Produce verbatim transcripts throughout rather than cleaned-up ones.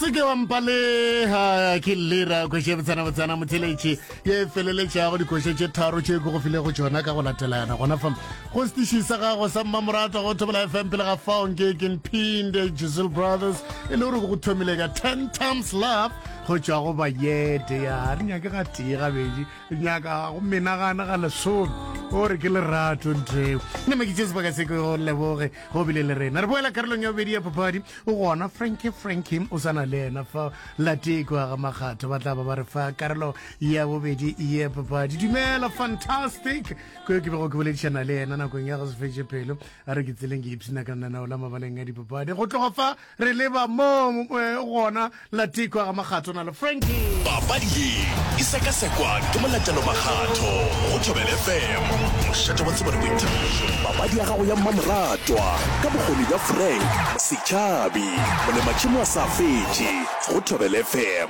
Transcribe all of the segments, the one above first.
Se ke wa mpaleha ke lera kgoši botsana botsana motheletši ye feleletšago dikoša tše tharo tše ke go filego tšona ka go latelana gona fa go setiši sa gago sa mmamoratwa go Thobela F M. Pele ga fao nke ke Mphinde Giselle Brothers e le gore go thomile ka ten times love go tšwa go Bayete. Ya re nyake ga tee gabedi, re nyaka go menagana ga lesome o re ke lerato ntheo. Nna ke tše sebaka se ke go leboge go bile le rena. Re boela karolong ya bobedi ya papadi. O gona Frankie Frankie o sana le yena fa Latekwa ga Makgatho, ba tla ba ba re fa karolo ya bobedi ya papadi. Dumela fantastic ko ke bego ke boledišana le yena nakong ya go se fetše pelo. A re ke tseleng ke ipshina ka lenaneo la mabaleng a dipapadi. Go tloga fa re leba mo gona Latekwa ga Makgatho na le Frankie. Papadi ye e sekasekwa ke Molatelo Makgatho go Thobela F M, mošate wa tsebo le boithabišo. Papadi ya gago ya mmamoratwa ka bokgoni bja Frank Setšhabi, molematšhemo a sa fetše go Thobela F M.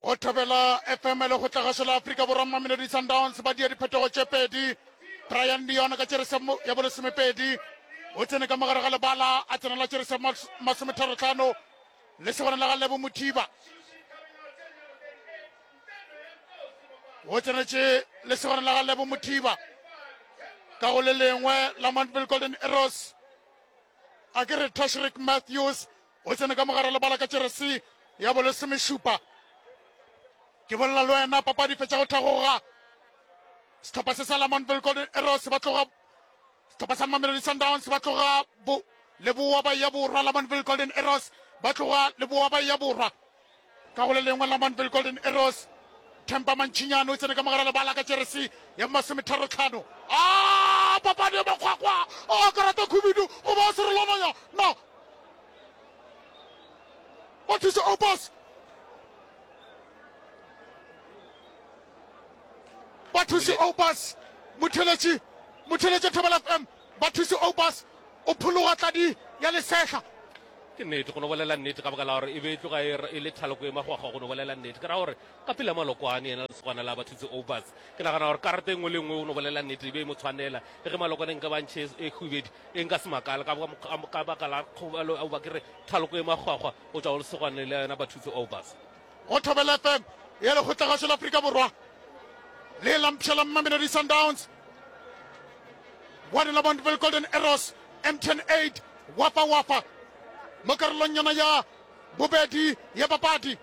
Go Thobela F M le go tlagašo la Afrika Borwa, Mamelodi Sundowns ba dia diphetogo tše pedi. Brian Leon ka tšerese ya bolesomepedi o tsene ka mogare ga lebala a tsenela tšerese masometharo-hlano le segona la ga Lebo Mothiba. O tsenetše le segona la ga Lebo Mothiba ka go le lengwe la Montville Golden Arrows. A ke re Tashrik Matthews o tsene ka mogare lebala ka tšerese ya bolesomešupa. Ke bolela le wena papadi fetša go thagoga. Sehlopha se sa la Montville Golden Arrows ba tloga, sehlopha sa Mamelodi Sundowns ba tloga bo leboa ba ya borwa. La Montville Golden Arrows ba tloga leboa ba ya borwa. Ka go le lengwe la Montville Golden Arrows, Themba Mantšhinyane o tsene ka mogare lebala ka tšerese ya masometharo-hlano. A papadi ya makgwakgwa a karata khubidu goba a serolwananya na ba thuše Opus. Ba thuše Opus motheletši, motheletši Thobela F M ba thuše Opus o phologa tladi ya lesehla. Ke nnete go no bolela nnete ka baka la gore e be e tloga e le thaloko e magwagwa go no bolela nnete. Ke ra gore ka pele Malokwane yena lesogana la Bathutse Obas, ke nagana gore karata e nngwe le nngwe o no bolela nnete e be e mo tshwanela. Le ge Malokwane nka ba ntšhe e hubedi e nka se makala ka baka la kgobalo goba ke re thaloko e magwagwa go tšwa go lesogane le yena Bathutse Obas. Go Thobela F M ya lekgotlagašo la Afrika Borwa le la mpšha la Mamelodi Sundowns one la Montville Golden Arrows M T N eight wafa wafa mo karolong yona ya bobedi ya papadi.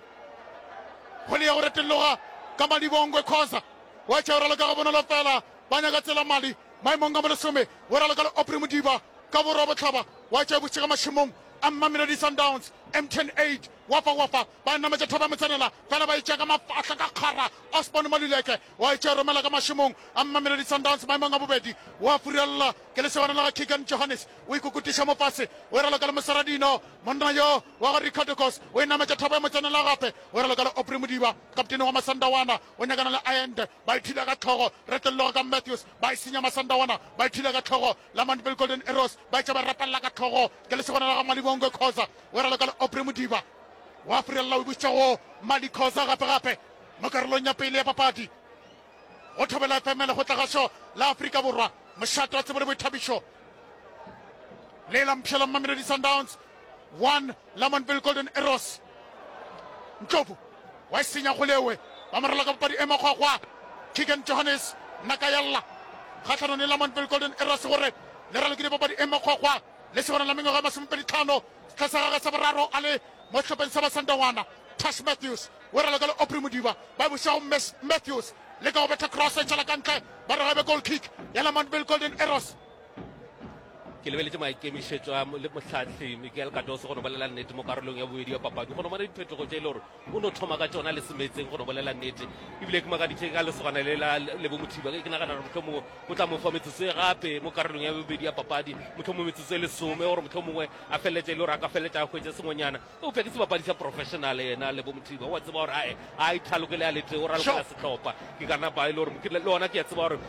Go le ya go retelloga ka Malibongwe Khoza wa tšea o raloka ga bonolo fela, ba nyaka tsela mali maemong a bolesome o raloka le Aubrey Modiba ka borwa bohlaba wa tšea bošega mašemong a Mamelodi Sundowns M T N eight wafa wafa ba nametša thaba motsenela fela ba itšea ka mafahla ka kgara. Osborne Maluleke wa itšea romela ka mašemong a Mamelodi Sundowns maemong a bobedi wa furella ke lesogana la ga Keegan Johannes o ikokutiša mo fase o raloka le Mosaradino monna yo wa ga Ricardo Kos o e nametša thaba ya motsenela gape o raloka le Aubrey Modiba kaptene wa Masandawana o nyakana le Ayende ba ithula ka tlhogo retelloga ka Matthews ba e senya Masandawana ba ithula ka tlhogo la Montville Golden Arrows ba itša ba rapella ka tlhogo ke lesogana la ga Malibongwe Khoza o raloka le Aubrey Modiba wa furella o bušitša go Mali Khoza gape gape mo karolong ya pele ya papadi. Go Thobela F M le go tlagašo la Afrika Borwa mošate wa tsebo le boithabišo le la mpšha la Mamelodi Sundowns one la Montville Golden Arrows. Ndlovu wa e senya go lewe ba morela ka papadi e makgwakgwa. Keegan Johannes Nakayalla kgahlanong le la Montville Golden Arrows gore le ralokile papadi e makgwakgwa le segona la mengwaga e masomepedi tlhano setlha sa gagwe sa boraro a le mo sehlopheng sa Masandawana. Tash Matthews o raloka le Aubrey Modiba ba buša go Matthews le ka go betha cross e tšwela ka ntle ba re gabe goal kick ya la Montville Golden Arrows. Ke lebeletše maikemišetšo a le mohlahli Miguel Cardoso go no bolela nnete mo karolong ya bobedi ya papadi go no bona diphetogo tše e le gore o no thoma ka tšona le semetseng go no bolela nnete. Ebile ke makaditše ka lesogana le la Lebo Mothiba, ke nagana gore mohlomongwe o tla mo fa metsotso e gape mo karolong ya bobedi ya papadi, mohlomongwe metsotso e lesome gore mohlomongwe a feleletše e le gore a ka feleletša a hwetše sengwenyana. Eupša ke sebapadi sa professional yena Lebo Mothiba, o a tseba gore ae a ithalokele a lete o ralokela sehlopha. Ke ka napa e le gore le gona ke a tseba gore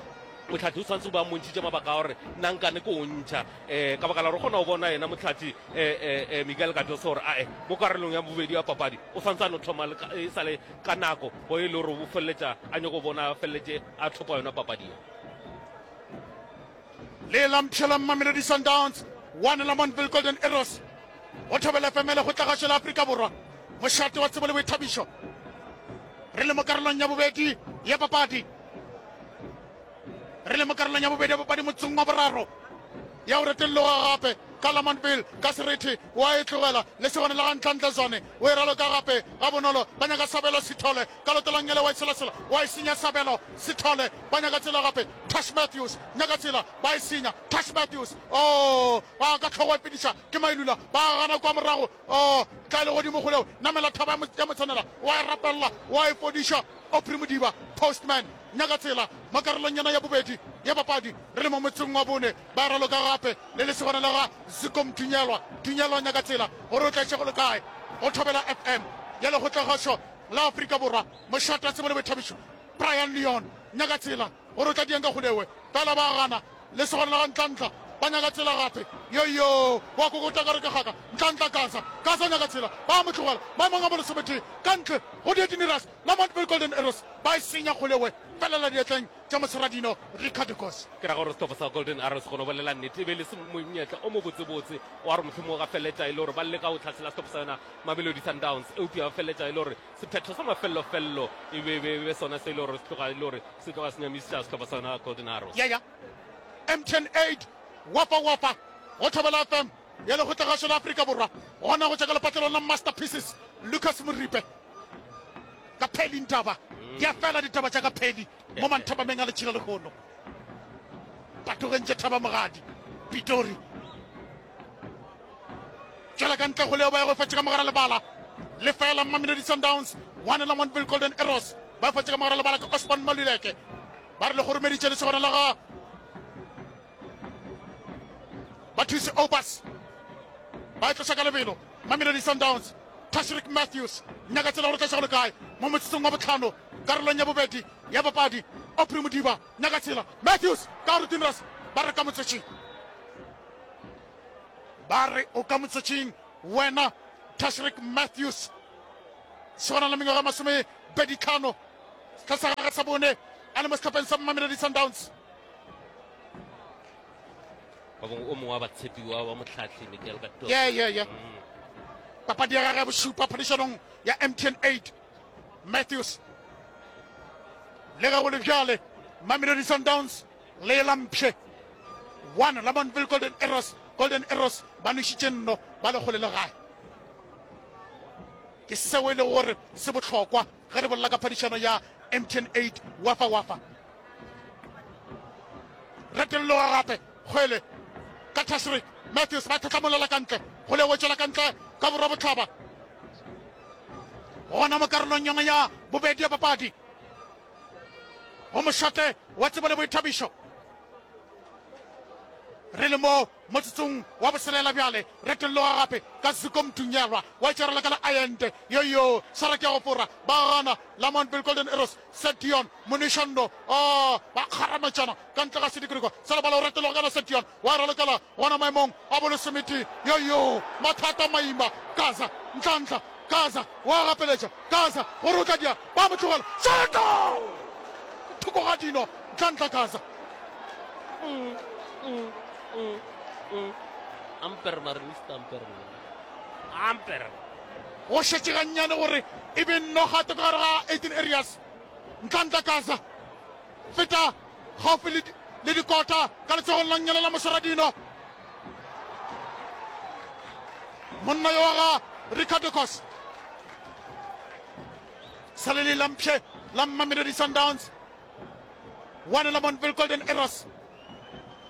motlhathi o tshwanetse go ba mmontšhitše mabaka a gore nna nkane ke o ntšha um ka baka la gore o kgona go bona yena motlhathi um Miguel Cardoso gore ae mo karolong ya bobedi ya papadi o tshwanetse a no thoma e sa le ka nako go e le gore o feleletša a nyako bona a feleletše a thopa yona papadi ye. Le la mpšha la Mamelodi Sundowns One Lamontville Golden Arrows go Thobela F M le Lekgotlagašo la Afrika Borwa, mošate wa tsebo le boithabišo. Re le mo karolong ya bobedi ya papadi, re le mo karolong ya bobedi ya papadi motsong wa boraro ya go retelloga gape ka Lamontville ka Serete wa e tlogela le segone la ga Ntlantla Zwane o e raloka gape ga bonolo. Ba nyaka Sabelo Sithole ka lotolang ele wa e selasela wa e senya. Sabelo Sithole ba nyaka tsela gape. Tash Matthews nyaka tsela ba e senya. Tash Matthews oh ba ka tlhogo e fediša ke Mailula ba gana kwa morago. Oh tla le godimo kgoleo namela thaba ya motshwanela wa e rapella wa e fodiša. Aubrey Modiba Postman nyaka tsela mo karolong yona ya bobedi ya papadi. Re le mo motseng wa bone ba raloka gape le lesegwana la ga Zikom Tunyelwa. Tunyelwa nyaka tsela gore o tla išego le kae go Thobela F M ya Lekgotlagašo la Afrika Borwa, mošate wa tsebo le boithabišo. Brian Leon nyaka tsela gore o tla dieng ka kgolewe fela ba gana lesegwana la ga Ntlantla ba nyaka tsela gape. Yoyo wa kokota ka re ke gaka Ntlantla Gaza Gaza nyaka tsela ba mo tlogela maemong a bolesometee ka ntle go dietiniras Lamontville Golden Arrows ba e senya kgolewe felela diatleng tša Moseradino Ricardo Kos. Ke ra gore sehlopha sa Golden Arrows go no bolela nnete e be le monyetla o mobotsebotse wa gore mohlomongwe ga feleletša e le gore ba leka go tlhasela sehlopha sa yona Mamelodi Sundowns, eupša ba feleletša e le gore sephetho sa mafellofello e be be sona se e le gore se tloga e le gore se tloga se nyamiša sehlopha sa yona Golden Arrows. Ya ya M T N eight Wafa Wafa go Thobela F M ya Lekgotlagašo la Afrika Borwa gona go tšwa ka lepatlelong la Masterpieces Lucas Moripe ka Pheli Ntaba. Di a fela ditaba tša ka Pheli mo manthabameng a letšhila lehono. Patogeng tše Thaba Mogadi Pitori tšwela ka ntle go leo ba ya go fetša ka mogara lebala lefela Mamelodi Sundowns one Lamontville Golden Arrows ba fetša ka mogara lebala ka Osborne Maluleke. Ba re le goromeditše lesogana la ga Bathusi Obas ba e tloša ka lebelo Mamelodi Sundowns. Tashrik Matthews nyaka tsela gore tla go le kae mo motsotsong wa botlhano karolong ya bobedi ya papadi. Aubrey Modiba nyaka tsela Matthews ka gore Tinras ba re ka motsotšing, ba re o ka motsotšing wena Tashrik Matthews. Segona la mengwaga masome pedi tlhano setlha sa gagwe sa bone a le mo sehlopheng sa Mamelodi Sundowns. Ba bangwe o mongwe wa batshepiwa wa motlhatlhi Miguel Cardoso. Yeah, yeah, yeah. Papadi ya gagwe ya bošupa phadišanong ya M T N eight. Matthews le ge go le bjale Mamelodi Sundowns le lampše one Lamontville Golden Arrows. Golden Arrows ba nwešitše nno ba le kgole le gae. Ke seo e lego gore se bohlokwa ge re bolela ka phadišano ya M T N eight Wafa Wafa. Retelloga gape kgwele ka Tashrik Matthews ba tlhatlamolela ka ntle go le wetšela ka ntle ka borwa bohlaba gona mo karolong yona ya bobedi ya papadi go mošate wa tsebo le boithabišo. Re le mo motsotsong wa boselela bjale retelloga gape ka Zuko Mtunyelwa wa itšarela ka la Ayende yoyo swara ke ya go fora ba gana Lamontville Golden Arrows Sedion Monishando oh ba kgarametšana ka ntle ga sedikriko sa lebala o retelloga kana Sedion wa ralokela gona maemong a bolesomete yoyo mathata maima Gaza Ntlantla Gaza wa gapeletša Gaza gore o tla dia ba mo tlogela Seta thoko ga dino Ntlantla Gaza. Mm, mm, mm, mm. Amper Marinista Amper. Amper. Go šetše gannyane gore e be nno gato ka gare ga eighteen areas. Ntlantla Gaza feta gaufi le le dikota ka letsogong la nnyele la Moseradino. Monna yo wa ga Ricardo Kos sa le le lampše la Mamelodi Sundowns one Lamontville Golden Arrows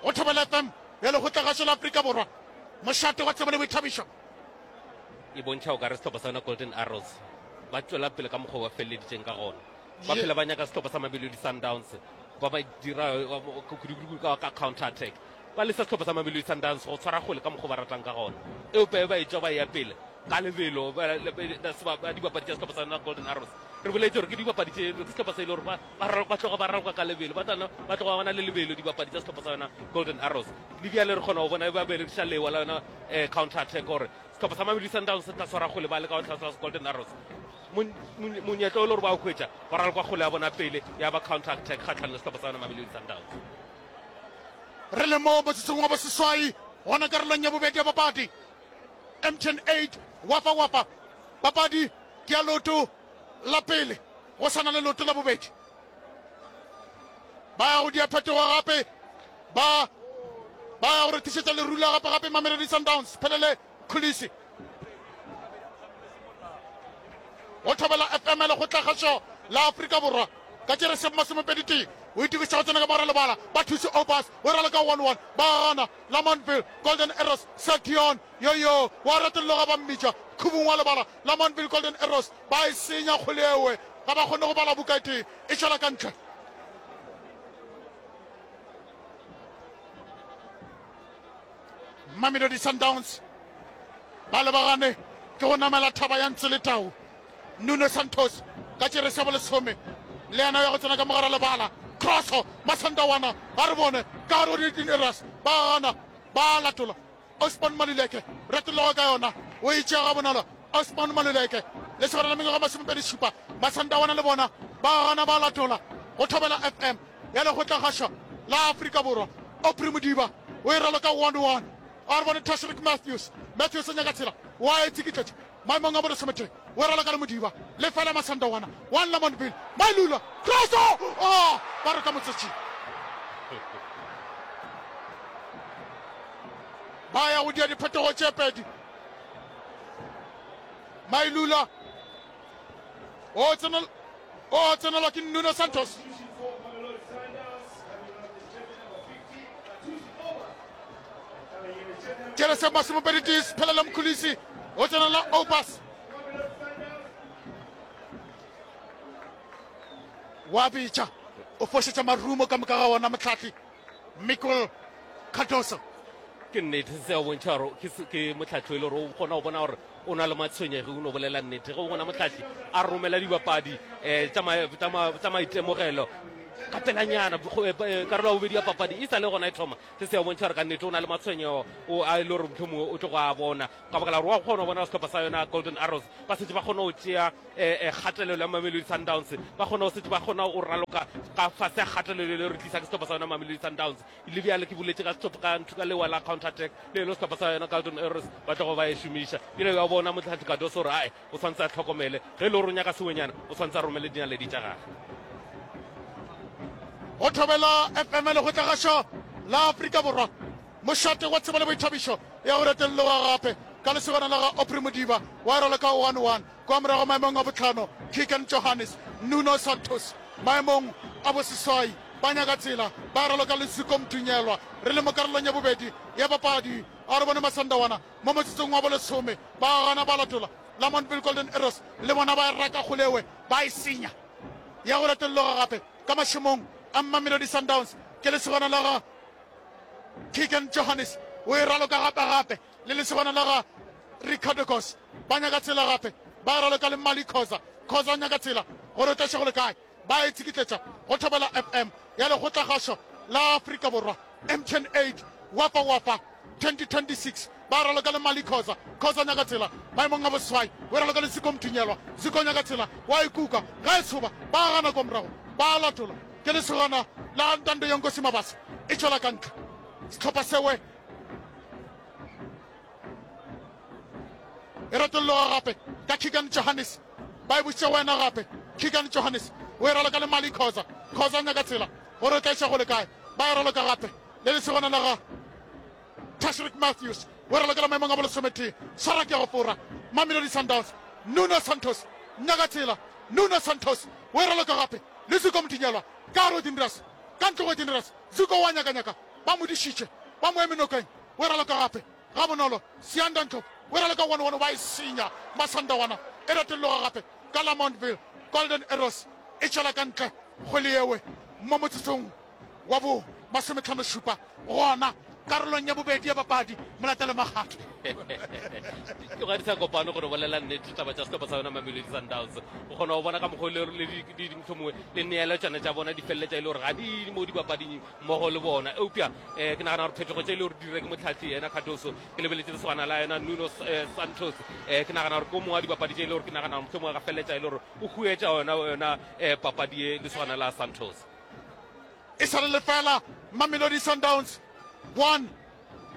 go Thobela F M ya Lekgotlagašo la Afrika Borwa, mošate wa tsebo le boithabišo. E bontšha o ka re sehlopha sa yona Golden Arrows ba tšwela pele ka mokgwa ba feleleditšeng ka gona. Ba phela ba nyaka sehlopha sa Mamelodi Sundowns ba ba dira kudu-kudu ka counter attack. Ba lesa sehlopha sa Mamelodi Sundowns go tshwara kgwele ka mokgwa ba ratang ka gona, eupša ba etšwa ba ya pele ka lebelo ba dibapadi tša sehlopha sa yona Golden Arrows. Re boletse gore ke dibapadi tše ke sehlopha se e le gore ba tloga ba raloka ka lebelo, ba tloga ba na le lebelo dibapadi tša sehlopha sa yona Golden Arrows. Le bjale re kgona go bona ba berekiša lewa la yona counter attack gore sehlopha sa Mamelodi Sundowns se tla tshwara kgwele ba leka go tlhasela Golden Arrows. Monyetla o le gore ba o hwetša ba raloka kgwele ya bona pele ya ba counter attack kgatlhanong le sehlopha sa yona Mamelodi Sundowns. Re le mo motsotsong wa boseswai Gona karolong ya bobedi ya papadi, M T N eight Wafa Wafa. Papadi ke ya leoto la pele, go sa na le leoto la bobedi. Ba ya go dia phetogo gape, ba ba ya go rethišetša lerula gape gape Mamelodi Sundowns. Phelele Khulisi go thobela F M lekgotlakgašo la Afrika Borwa ka tšere masomepedi tee. O itokiša go tsena ka mogare lebala, ba thuše Obas o raloka one one, ba gana Lamontville Golden Arrows. Sation yoyo wa retologa, ba mmitša khubung wa lebala. Lamontville Golden Arrows ba e senya kgole ewe, ga ba kgone go bala buka e tee, e tšwela ka ntle. Mamelodi Sundowns ba lebagane ke go namela thaba ya ntse le tau. Nuno Santos ka tšere sa bolesome le yena ya go tsena ka mogare lebala. Crosso Masandawana ga re bone ka gare go di-Arrows, ba gana ba latola. Osman Maluleke retologa ka yona, o e tšea ga bonolo. Osman Maluleke le segwana la mengwaga masomepedi šupa. Masandawana le bona ba gana ba latola. Go thobela F M ya lekgotlakgašo la Afrika Borwa. Aubrey Modiba o e raloka one one. A re bone Tashreeq Matthews. Matthews o nyaka tsela, wa e tsikitletša maemong a bolesometee. O e raloka le Modiba, lefela Masandawana one Lamontville. Mailula Crosso, oh, ba re ka motsetšing. Ba ya go dia diphetogo tše pedi. Mailula o tsenel-, o tsenelwa ke Nuno Santos. Tšhelese masomepedi tee, Phelele Mkhulisi o tsenela Obas. Wa bitša, o fošetša marumo ka moka ga ona mohlahli Miguel Cardoso. Ke nnete se a bontšha gore ke se-, ke mohlahli e le gore o kgona go bona gore o na le matshwenyegi, o no bolela nnete. Ge o bona mohlahli a romela dibapadi, eh, tša ma-, tša ma-, tša maitemogelo ka pelanyana, go, eh, eh, karolo ya bobedi ya papadi e sa le gona e thoma. Se se a bontšha gore ka nnete o na le matshwenyego o a e le gore mohlomongwe o tlo go a bona, ka baka la gore wa kgona go bona sehlopha sa yona Golden Arrows ba setse ba kgona go tšea, eh, eh, kgatelelo ya Mamelodi Sundowns, ba kgona go setse ba kgona go raloka ka fase ya kgatelelo le re tlisa ke sehlopha sa yona Mamelodi Sundowns. Le bjale ke boletse ka sehlopha ka ntho ka lewa la counter attack le le sehlopha sa yona Golden Arrows ba tlogo ba e šomiša. Ebile wa bona mohlahli Cardoso gore ae o tshwanetse a tlhokomele ge e le gore o nyaka sewenyana, o tshwanetse a romele dinaledi tša gagwe. Go thobela F M lekgotlakgašo la Afrika Borwa, mošate wa tsebo le boithabišo ya go retelloga gape ka lesogana la ga Aubrey Modiba wa raloka one one. Kwa morago maemong a botlhano Keegan Johannes, Nuno Santos maemong a boseswai ba nyaka tsela, ba raloka le Zuko Mdunyelwa. Re le mo karolong ya bobedi ya papadi, a re bone Masandawana mo motsotsong wa bolesome, ba gana ba latola. Lamontville Golden Arrows le bona ba raka kgolewe, ba e senya ya go retelloga gape ka mašemong a Mamelodi Sundowns. Ke lesogana la ga Keegan Johannes o e raloka gape gape le lesogana la ga Ricardo Goss, ba nyaka tsela gape, ba raloka le Mali Khoza. Khoza o nyaka tsela gore o tla go le kae, ba e tsikitletša go thobela F M ya lekgotlakgašo la Afrika Borwa. M T N eight Wafa Wafa twenty twenty-six ba raloka le Mali Khoza. Khoza o nyaka tsela maemong a boseswai, o raloka le Ziko Mdunyelwa. Ziko o nyaka tsela, wa e kuka ga e tshoba, ba gana kwa morago, ba latola. Ke lesogana la Ntando Yonkosi Mabasa e tšwela ka ntle. Sehlopha sewe e retolloga gape ka Keegan Johannes, ba e bušitše wena gape. Keegan Johannes o e raloka le Mali Khoza. Khoza o nyaka tsela gore o tla iša go le kae, ba e raloka gape le lesogana la ga Tashreeq Matthews o e ralokela maemong a bolesometee. Swara ke ya go fora Mamelodi Sundowns. Nuno Santos nyaka tsela, Nuno Santos o e raloka gape le Zuko Mdunyelwa ka gare go Dinras, ka ntle go Dinras. Zuko wa nyakanyaka, ba mo dišitše, ba mo eme nokeng, o e raloka gape ga bonolo. Siyanda Ndlovu o e raloka one one, ba e senya Masandawana e retolloga gape ka Lamontville Golden Arrows e tšwela ka ntle kgwele yewe mo motsotsong wa bo masometlhano šupa gona karolong ya bobedi ya papadi. Molatelo Makgatho. Ke ga di sa kopane gore bolela nnete taba tša sehlopha sa yona Mamelodi Sundowns. O kgona go bona ka mokgwa le le di di mohlomongwe le neeletswana tša bona di feleletša e le gore ga di mo dipapading mmogo le bona. Eupša, eh, ke nagana gore phetogo tše e le gore di dire ke mohlahli yena Cardoso, ke lebeletše lesogana la yena Nuno, eh, Santos. Eh, ke nagana gore ke o mongwe wa dipapadi tše e le gore ke nagana gore mohlomongwe ga feleletša e le gore o huetša yona, yona, eh, papadi ye lesogana la Santos. E sa le lefela Mamelodi Sundowns one,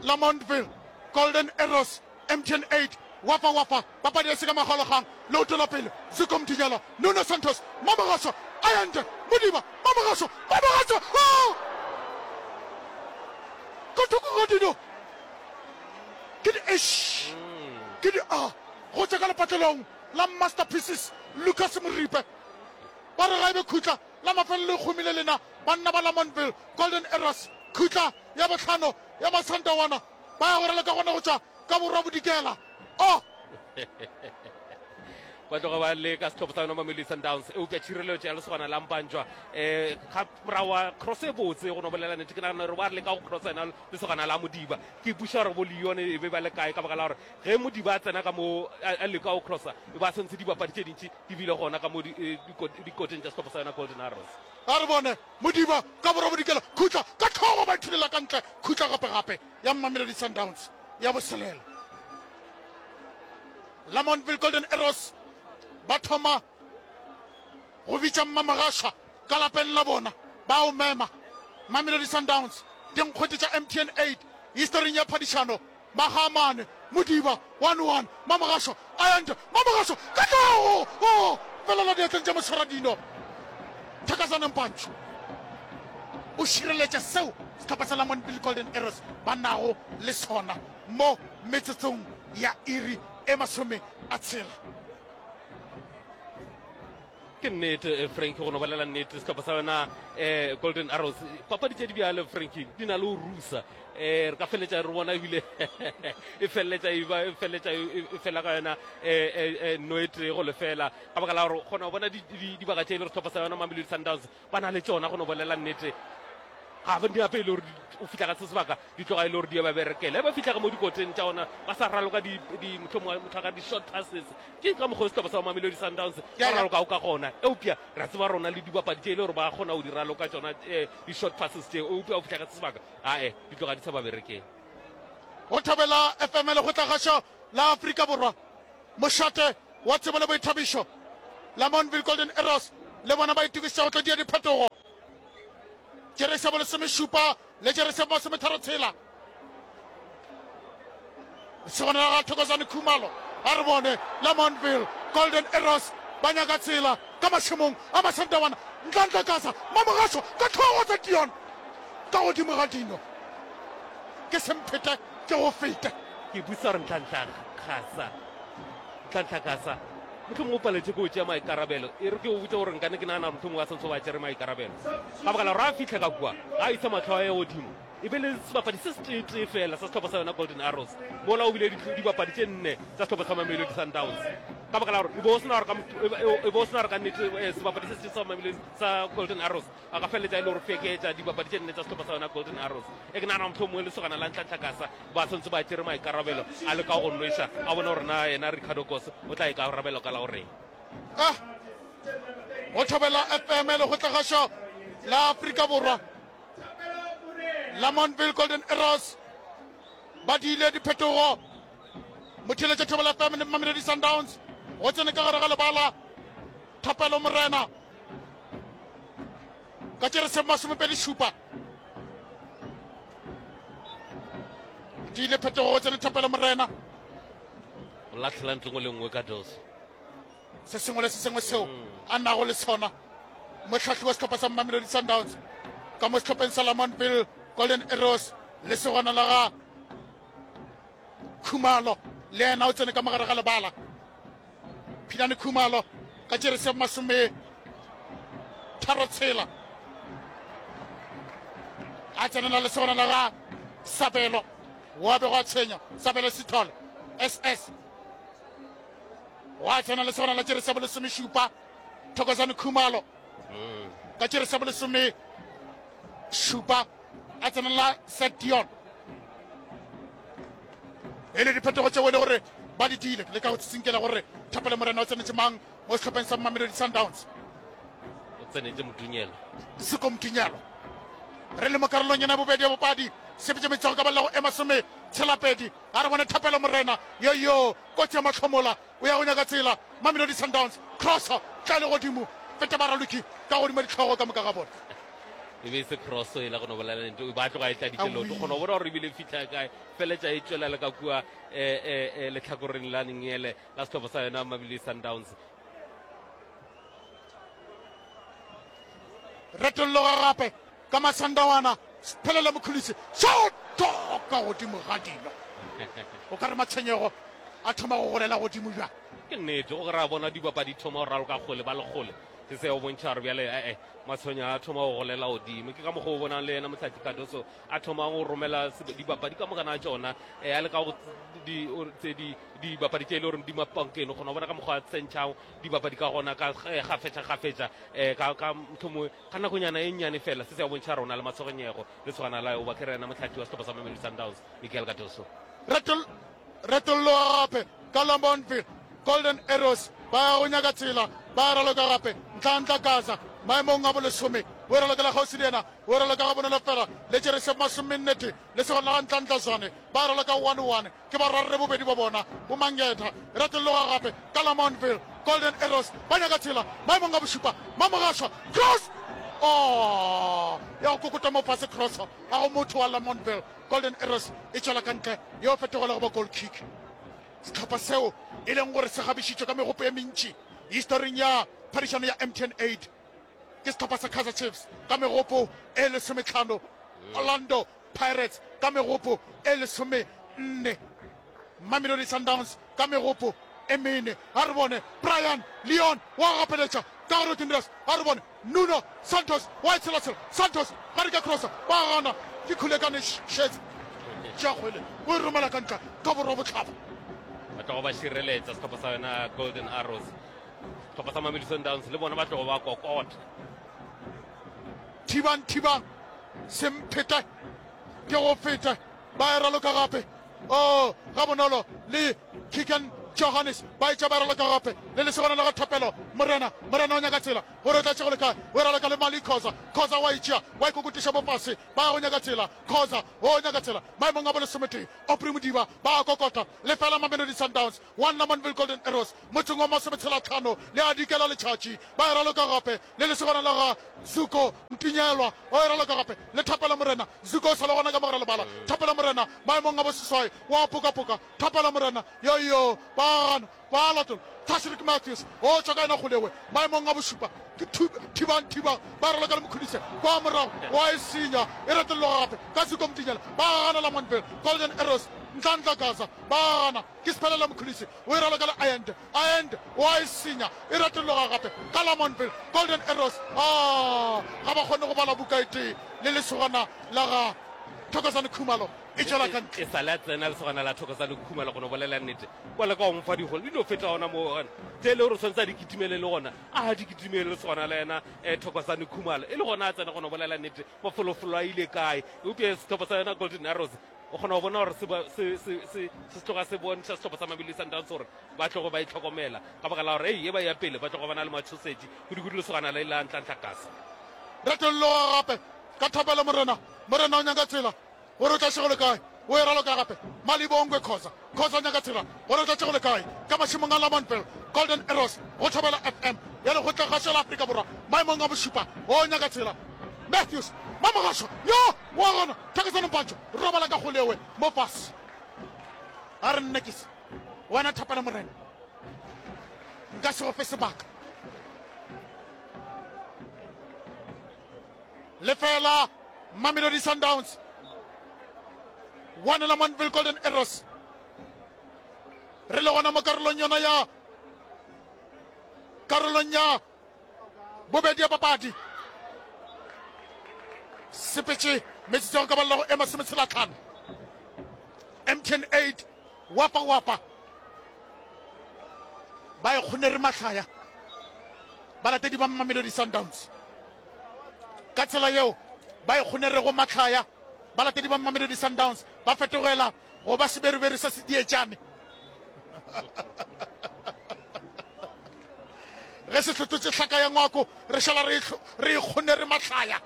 Lamontville Golden Arrows M T N eight Wafa Wafa papadi e se ka makgaolakgang leoto la pele Zuko Mdinyela Nuno Santos Mamogaso Ayande Modiba Mamogaso Mamogaso oh! Ka thoko ga dino ke di eish ke di a go tšwa ka lepatlelong la Masterpieces Lucas Moripe ba re ga e be khutla la mafelelo e kgomile lena banna ba Lamontville Golden Arrows khutla ya bohlano ya Masandawana ba ya go raloka gona go tšwa ka borwa bodikela oh ba tloga ba le ka sehlopha sa yona Mamelodi Sundowns eupša tšhireletšo ya lesogana la Mpanjwa um ga morago wa cross e botse go no bolela nnete ke nagana gore ba re leka go crossa yena lesogana la Modiba ke ipuša gore bo Leon e be ba le kae ka baka la gore ge Modiba a tsena ka mo a leka go crossa e ba sentse dibapadi tše dintši di bile gona ka mo dikoteng tša sehlopha sa yona Golden Arrows. A re bone Modiba ka borwa bodikela khutla ka tlhogo ba ithulela ka ntle khutla gape gape ya Mamelodi Sundowns ya boselela. Lamontville Golden Arrows ba thoma go bitša Mmamogashwa ka lapeng la bona ba o mema Mamelodi Sundowns dinkgwete tša M T N eight historing ya phadišano Magamane Modiba one one Mamogasho Ayande Mamogasho ka tlhogo o felela diatleng tša moswaradino Thakazana Mpantsho o šireletša seo sehlopha sa Lamontville Golden Arrows ba nago le sona mo metsotsong ya iri e masome a tshela. Ke nnete Frankie, go no bolela nnete sehlopha sa yona um Golden Arrows papadi tše di bjalo Frankie di na le go rusa um re ka feleletša re bona ebile e feleletša e ba e feleletša e fela ka yona um no e tee go lefela ka baka la gore kgona go bona dibaka tše e le gore sehlopha sa yona Mamelodi Sundowns ba na le tšona go no bolela nnete ga ba di ape e le gore o fihla ka se sebaka di tloga e le gore di ba berekela e ba fihla ka mo dikoteng tša ona ba sa raloka mohlomongwe motho ka di-short passes ke ka mokgwa sehlopha sa Mamelodi Sundowns ba ralokago ka gona eupša re a tseba rona le dibapadi tše e le gore ba kgona go di raloka tšona di-short passes tše eupša o fihla ka se sebaka ae di tloga di sa ba berekele. Go Thobela F M Lekgotlakgašo la Afrika Borwa, mošate wa tsebo le boithabišo, Lamontville Golden Arrows le bona ba itokišetša go tlo dia diphetogo. Jeresi ya bolesomešupa le jeresi ya bomasometharo tshela. Lesogana la ga Thokozani Khumalo a re bone Lamontville Golden Arrows ba nyaka tsela ka mašemong a Masandawana. Ntlantla Kasa Mamogašo ka tlhogo tsa Dion ka godimo ga dino. Ke semphete ke go fete. Ke busa gore Ntlantla Kasa, Ntlantla Kasa mohlomongwe o paletše ke go tšea maikarabelo. E re ke o botše gore nkane ke nagana gore mohlomongwe a santse ba tšere maikarabelo ka baka la gore a fihle ka kua ga a isa mahlo a ye godimo e be le sebapadi se seteetee fela sa sehlopha sa yona Golden Arrows mola o bile dibapadi tše nne tsa sehlopha sa Mamelodi Sundowns ka baka la gore e be o sena gore e be o sena gore ka nnete sebapadi se se sa Mamelodi sa Golden Arrows a ka feleletša e le gore feketša dibapadi tše nne tsa sehlopha sa yona Golden Arrows. E ke nagana mohlomongwe lesogana la Ntlantla Kasa ba santse ba tšere maikarabelo a leka go nweša a bone gore na yena Ricardo Goss o tla ikarabela ka la goreng. Ah, go Thobela F M Lekgotlakgašo la Afrika Borwa Lamontville Golden Arrows ba diile diphetogo. Motheeletša Thobela F M le Mamelodi Sundowns go tsene ka gare ga lebala Thapelo Morena ka tšere masomepedi šupa. Diile phetogo go tsene Thapelo Morena. O lahlela ntlo nngwe le nngwe ka dose. Se sengwe le se sengwe seo a nago le sona mohlahli wa sehlopha sa Mamelodi Sundowns ka mo sehlopheng sa Lamontville Golden Arrows lesogana la ga Khumalo le yena o tsene ka mogare ga lebala. Philane Khumalo ka tšere masome tharo tshela a tsenela lesogana la ga Sabelo wa bego a tshwenya Sabelo Sithole S S wa tsena lesogana la tšere sa bolesomešupa Thokozane Khumalo ka tšere sa bolesome šupa a tsenela Sedion e le diphetogo tšeo e le gore ba di diile le ka go tsitsinkela gore Thapelo Morena o tsenetše mang mo sehlopheng sa Mamelodi Sundowns. O tsenetše Motunyelo. Siko Motunyelo re le mo karolong yena bobedi ya bopadi sepetše metsogo ka balela go ema some tshelapedi a re bone Thapelo Morena yo yo kotsi ya mahlomola o ya go nyaka tsela Mamelodi Sundowns crossa tla le godimo feta baraloki ka godimo ditlhogo ka moka ga bona. E be e se cross e la go no bolela nnete, ba tloga e tladitše leoto. Kgona go bona gore ebile e fitlha kae, feletša e tšwela le ka kua eh, eh, eh, letlhakoreng la nengele la sehlopha sa yona Mamelodi Sundowns. Retolloga gape ka Masandawana, Sphelele Mkhulise, shoto ka godimo ga dilo. O ka re matshwenyego a thoma go golela godimo bjang. Ke nnete, o ra bona dibapadi thoma go raloka kgole ba le kgole. Se se o bontšha gore bjale ee matshwenyo a thoma go golela godimo. Ke ka mokgwa o bonang le yena Mohlahli Cardoso a thoma go romela dibapadi ka mokana ga tšona, um a le ka go dibapadi tše e le gore di mapankeng. O kgona go bona ka mokgwa a tsentšhago dibapadi ka gona ka gafetša gafetša, um ka ka mohlomongwe ka nakonyana e nnyane fela. Se se a bontšha rona le matshwenyego le tshwana la oba ke re yena mohlahli wa sehlopha sa Mamelodi Sundowns Miguel Cardoso. Retolloga gape ka Lamontville Golden Arrows ba ya go nyaka tsela, ba raloka gape Ntlantla Gaza maemong a bolesome, o ralokela kgauswi le yena, o raloka ga bonolo fela le Jeresep masomennete le segona ga Ntlantla Zwane, ba raloka one one ke barwarre bobedi ba bona boMangetha. Retolloga gape ka Lamontville Golden Arrows ba nyaka tsela maemong a bošupa, Mamogašwa cross, oh ya go kokota mo fase cross a go motho wa Lamontville Golden Arrows e tšwela ka ntle yo fetogela go ba goal kick. Sehlopha seo e leng gore se gabišitšwe ka megopo e mentši historing ya phadišano ya M T N eight ke sehlopha sa Kaizer Chiefs ka megopo e lesometlhano, Orlando Pirates ka megopo e lesomenne, Mamelodi Sundowns ka megopo e mene. A re bone Brian Leon wa gapeletša ka gare Tindras, a re bone Nuno Santos wa e tshelatshela, Santos ga re ka crossa ba gana ke Khulekane Shezi tšea kgwele o e romela ka ntle ka borwa botlhaba. Ba tlogo ba šireletša sehlopha sa yona Golden Arrows. Sehlopha sa Mamelodi Sundowns le bona ba tlogo ba kokota. Thibang thibang semphete ke go fete, ba e raloka gape o ga bonolo le Keegan Johannes ba etša ba e raloka gape le lesogana la ga Thapelo Morena. Morena o nyaka tsela gore o tla tšego le kae, o e raloka le Mali Khoza. Khoza wa itšea wa ikokotiša mo fase, ba ya go nyaka tsela. Khoza o nyaka tsela maemong a bolesometee. Aubrey Modiba ba a kokota lefela Mamelodi Sundowns one Lamontville Golden Arrows motseng wa masometshela tlhano le a dikela letšatši, ba e raloka gape le lesogana la ga Zuko Ntinyelwa o e raloka gape le Thapelo Morena. Zuko o sa le gona ka mogare lebala. Thapelo Morena maemong a boseswai wa pokapoka. Thapelo Morena yo yo ba gana ba latola. Tashrik Matthews o tšwa ka yena kgolewe maemong a bošupa ke Thibang Thibang ba raloka le Mkhulise kwa morago wa e senya e retolloga gape ka Zuko Mtinyela ba gana Lamontville Golden Arrows Ntlantla Gaza ba gana ke Sphelele Mkhulise o e raloka le Ayende. Ayende wa e senya e retolloga gape ka Lamontville Golden Arrows. Ah, ga ba kgone go bala buka e tee le lesogana la ga Thokozane Khumalo e tšwela ka ntle. E sa le a tsena lesogana la Thokozane Khumalo go no bolela nnete kwa le ka go mofa digole di no feta gona moo gona tse e le gore o tshwanetse a di kitimele le gona a di kitimele lesogana la yena um Thokozane Khumalo e le gona a tsena go no bolela nnete mafolofolo a ile kae. Eupša sehlopha sa yona Golden Arrows o kgona go bona gore se se se se tloga se bontšha sehlopha sa Mamelodi Sundowns gore ba tlogo ba itlhokomela ka baka la gore ei e ba ya pele ba tlogo ba na le matšhosetši kudu-kudu lesogana le la Ntlantla Kasa. Retolloga gape ka Thapelo Morena. Morena o nyaka tsela gore o tla šego le kae, o e raloka gape Malibongwe Khoza. Khoza o nyaka tsela gore o tla tšego le kae ka mašemong a Lamontville Golden Arrows go Thobela F M ya lekgotlakgašo la Afrika Borwa maemong a bošupa. O nyaka tsela Matthews Mamogašwa yo wa gona Thakasano Mpantsho robala ka kgolewe mo fase. A re nne ke se wena Thapelo Morena nka se go fe sebaka. Lefela Mamelodi Sundowns one Lamontville Golden Arrows. Re le gona mo karolong yona ya karolong ya bobedi ya papadi. Sepetše metsotso ya go ka balela go e masometshela tlhano. M T N eight wapa wapa ba e kgonere mahlaya balatedi ba Mamelodi Sundowns ka tsela yeo ba e kgonerego mahlaya balatedi ba Mamelodi Sundowns ba fetogela go ba seberiberi sa sedietšane. Ge se hlototše hlaka ya ngwako re šala re e kgonere mahlaya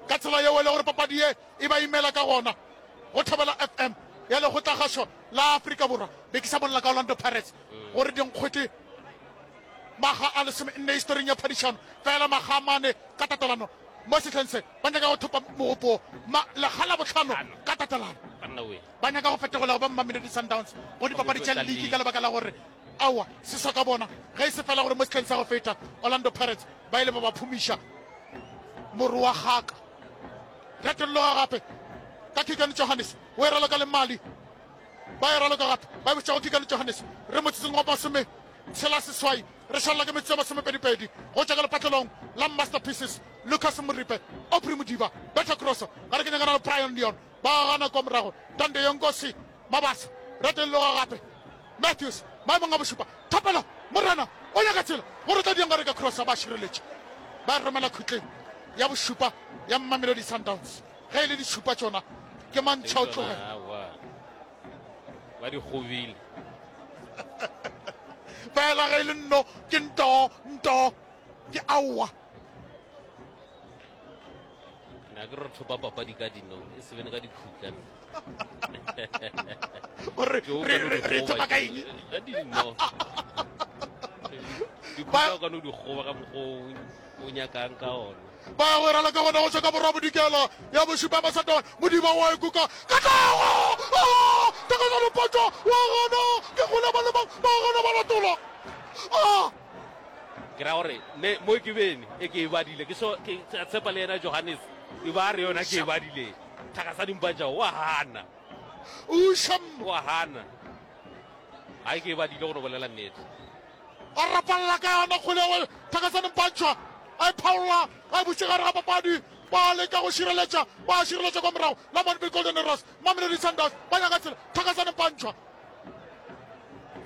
ka tsela yeo e le gore papadi ye e ba imela ka gona. Go Thobela F M ya lekgotlakgašo la Afrika Borwa be ke sa bolela ka Orlando Pirates gore dinkgwete maga a lesome nne historing ya phadišano fela maga a mane ka tatelano Mo sehleng se ba nyaka go thopa mogopo ma lekga la bohlano ka tatelano. Ba nyaka go fetogola go ba Mamelodi Sundowns go dipapadi tša liki ka lebaka la gore aowa se sa ka bona ge e se fela gore mo sehleng sa go feta Orlando Pirates ba ile ba ba phumiša moro wa kgaka. Retolloga gape ka Keegan Johannes o e raloka le Mali. Ba e raloka gape ba e bušetša go Keegan Johannes. Re motsotsong wa masome tshela seswai re šalela ke metsotso ya masomepedipedi go tšwa ka lepatlelong la Masterpieces. Lucas Moripe, Aubrey Modiba, Betha Crosso gare ke nyakana le Brian Leon ba gana kwa morago. Tande Yonkosi Mabasa retolloga gape Matthews maemong a bošupa. Thapelo Morena o nyaka tsela gore o tla diang gare ka Crosso ba šireletše ba romela khutleng ya bošupa ya Mamelodi Sundowns. Ge e le dišupa tšona ke mantšha o tlogela. Ba di kgobile. Fela ge e le nno ke nto nto ke aowa. Na ke re thopa papadi ka dino e se bene ka dikhutla. Gore re re re thopa ka eng? Ka dino. Dikhutla o ka no di kgoba ka mokgwa o nyakang ka ona. Ba ya go rala ka gona go tšwa ka borwa bodikela ya bošupa Masatone. Modiba wa ekuka Katlego! Ah! Takazano Potšo wa gana ke kgole ba le bang ba gana ba latola. Ah! Ke ra gore ne mo ke bene e ke e badile ke so ke tshepa le yena Johannes e ba re yona ke e badile. Thakasadi Mpatša wa hana. Usham wa hana. Ai ke e badile go no bolela nnete. A rapalla ka yona kgole ya Thakasane Mpantšhwa a e phaolla a e butše gare ga papadi. Ba leka go šireletša, ba šireletša kwa morago. Lamontville Golden Arrows, Mamelodi Sundowns ba nyaka tsela. Thakasane Mpantšhwa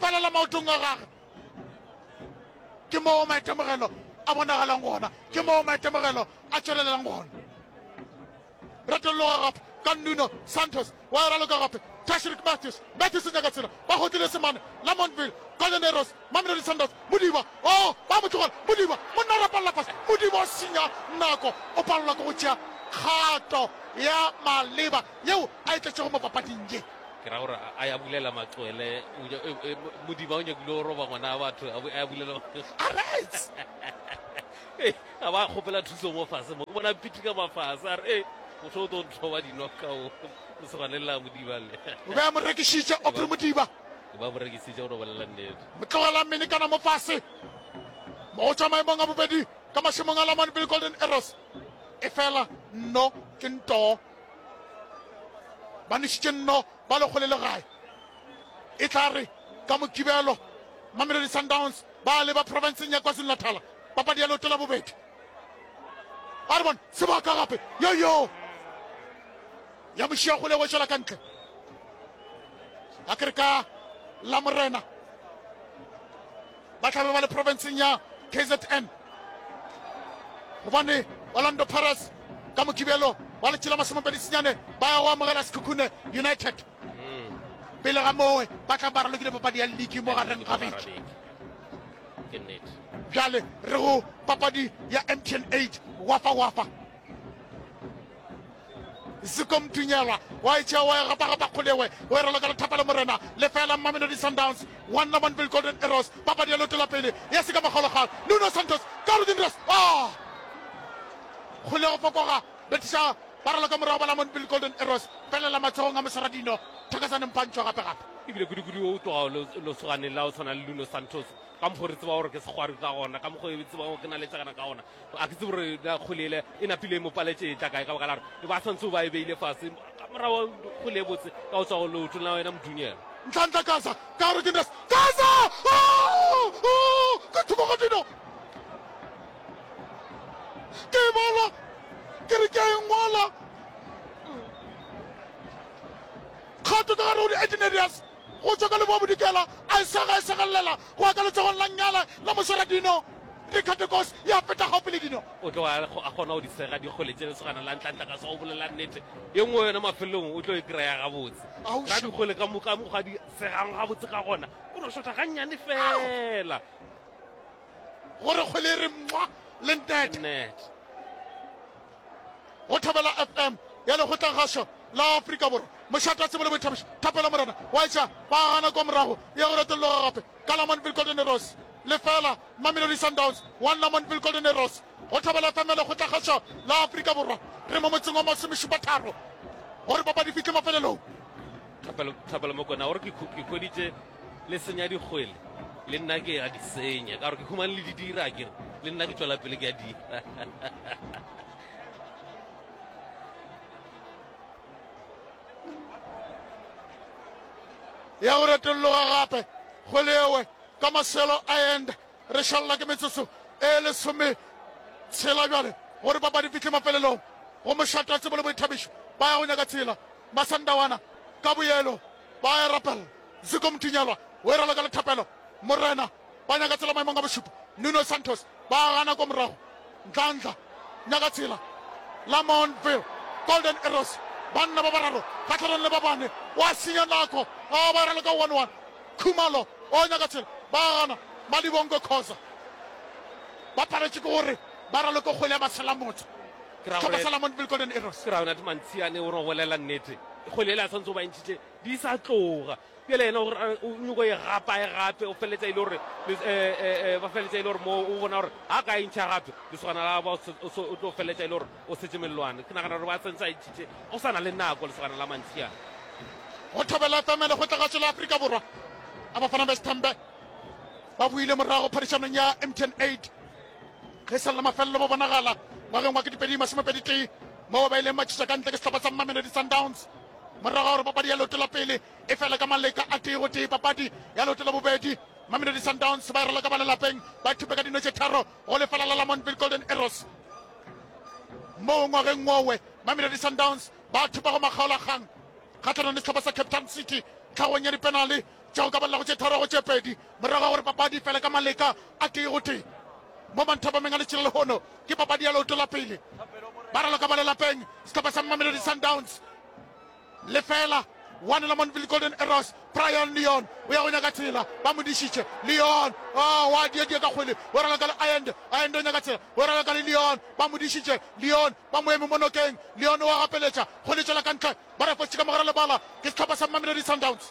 felela maotong a gage. Ke moo maitemogelo a bonagalang gona, ke moo maitemogelo a tšwelelelang gona. Retolloga gape ka Nuno Santos wa e raloka gape Tashreeq Matthews. Matthews o nyaka tsela, ba gotlile semane. Lamontville Golden Arrows, Mamelodi Sundowns. Modiba, oh, ba mo tlogela. Modiba, monna o rapalla fase. Modiba o senya nako, o palelwa ke go tšea kgato ya maleba yeo a e tletšego mo papading ye. Ke ra gore a ya bulela matswele, Modiba o nyakile go roba ngwana wa batho, a ya bulela Arets! A ba kgopela thuso mo fase mo, ke bona pitika mafase a re, motho o tlo nthoba dinoka o lesogane la Modiba le. O be a mo rekišitše Aubrey Modiba. Ba mo rekisitše go no bolela nnete. Motlogela mmele kana mo fase mo go tšwa maemong a bobedi ka mašemong a Lamontville Golden Arrows. E fela nno ke ntoo. Ba nwešitše nno ba le kgole le gae. E tla re ka Mokibelo Mamelodi Sundowns ba leba profenseng ya KwaZulu-Natal papadi ya leoto la bobedi. A re bone sebaka gape yoyo ya mošia kgole go tšwela ka ntle. A ke re ka la morena ba tlabe ba le profenseng ya K Z N gobane Orlando Pirates ka Mokibelo wa letšatši la masomepedi senyane ba ya go amogela Sekhukhune United. Pele ga mowe ba tla ba ralokile papadi ya ligi mo gareng ga beke. Bjale re go papadi ya M T N eight wafa wafa. Ziko Mdunyelwa wa e tšea wa e gapa-gapa kgolewe o e raloka le Thapelo Morena lefela Mamelodi Sundowns one Lamontville Golden Arrows papadi ya leoto la pele ya se ka makgaolakgang Nuno Santos Carudin Ross ah kgole go fokoga betiša ba raloka morago ba Lamontville Golden Arrows felela matsogong a Moswaradino Thakasane Mpantšhwa gape gape. Ebile kudu-kudu o tloga lesoganeng la go tshwana le Nuno Santos ka mokgwa re tseba gore ke sekgwari ka gona, ka mokgwa e tseba gore ke naletsagana ka gona. A ke tsebe gore na kgwele ele e napile e mo paletše e tla kae ka baka la gore e ba swantse o ba e beile fase ka morago kgwele e botse ka go tswa go leotong la wena Modunyela. Nhlanhla Gaza ka gare ke Ndas Gaza! Oh! Oh! Ke thoko ga dino. Ke e bala ke re ke a e ngwala. Kgato ka gare go di-eighteen areas go tšwa ka leboa bodikela a e sega e segelela go ya ka letsogong la nyala la moswaradino Ricardo ya feta gaufi le dino. O tloga a kgona go di sega dikgole tše lesogana la Ntlantla ka sa go bolela nnete. Ye nngwe yona mafelelong o tlo e kry-a gabotse. Ga dikgole ka moka mokgwa di segang gabotse ka gona, o no šotha gannyane fela. Gore kgwele e re mwa le nnete. Nnete. Go Thobela F M ya Lekgotlakgašo la Afrika Borwa, mošate wa tsebo le boithabišo, Thapelo Morena wa etša ba gana kwa morago ya go retolloga gape ka Lamontville Golden Arrows. Lefela Mamelodi Sundowns, one Lamontville Golden Arrows. Go Thobela F M ya Lekgotlakgašo la Afrika Borwa. Re mo motseng wa masomešupa-tharo gore papadi fihle mafelelong. Thapelo, Thapelo Mokwena gore ke ke hweditše le senya dikgwele le nna ke a di senya ka gore ke humane le di dira ke re le nna ke tšwela pele ke a dira. Ya go retolloga gape kgwele ewe ka Marcelo Allende. Re šalela ke metsotso e lesome tshela bjale gore papadi fihle mafelelong. Go mošate wa tsebo le boithabišo ba ya go nyaka tsela. Masandawana ka boyelo ba ya rapela. Ziko Mtinyelwa o e raloka le Thapelo Morena ba nyaka tsela maemong a bošupa. Nuno Santos ba gana ko morago. Ntlantla nyaka tsela. Lamontville Golden Arrows banna ba bararo kgatlhanong le ba bane wa senya nako a ba raloka one one. Khumalo o nyaka tsela ba gana. Malibongo Khoza ba paletše ke gore ba raloke kgwele ya maselamotse. Sehlopha sa Lamontville Golden Arrows. Ke ra yona Mantsiane o re bolela nnete. Kgwele ele a tshwanetse go ba ntšhitše di sa tloga. Bjale yena o nyoko e gapa e gape o feleletša e le gore ba feleletša e le gore mo o bona gore ga ka e ntšha gape lesogana la ba o tlo feleletša e le gore o setse mellwane. Ke nagana gore ba sentse a e ntšhitše o sa na le nako lesogana la Mantsiane. Go Thobela F M le Lekgotlakgašo la Afrika Borwa a Bafana Besithembe ba buile morago phadišanong ya M T N eight ge sa lla mafelelo ba bonagala ngwageng wa ketepedi masomepedi tee moo ba ileng ba tšhetša ka ntle ke sehlopha sa Mamelodi Sundowns morago gore papadi ya leoto la pele e fele ka maleka a tee go tee. Papadi ya leoto la bobedi Mamelodi Sundowns ba e raloka ba lelapeng ba thupe ka dino tše tharo go lefela la Lamontville Golden Arrows. Moo ngwageng wowe Mamelodi Sundowns ba thupa go makgaolakgang kgatlhanong le sehlopha sa Cape Town City tlhagong ya dipenale tša go ka balela go tše tharo go tše pedi morago ga gore papadi fele ka maleka a tee go tee. Mo manthapameng a letšhila lehono ke papadi ya leoto la pele ba raloka ba lelapeng sehlopha sa Mamelodi Sundowns lefela one Lamontville Golden Arrows. Brian Leon o ya go nyaka tsela ba mo dišitše. Leon oh, wa diedie ka kgwele o raloka le Allende. Allende o nyaka tsela o raloka le Leon ba mo dišitše. Leon ba mo eme mo nokeng. Leon wa gapeletša kgwele tšwela ka ntle ba refotše ka mogare lebala ke sehlopha sa Mamelodi Sundowns.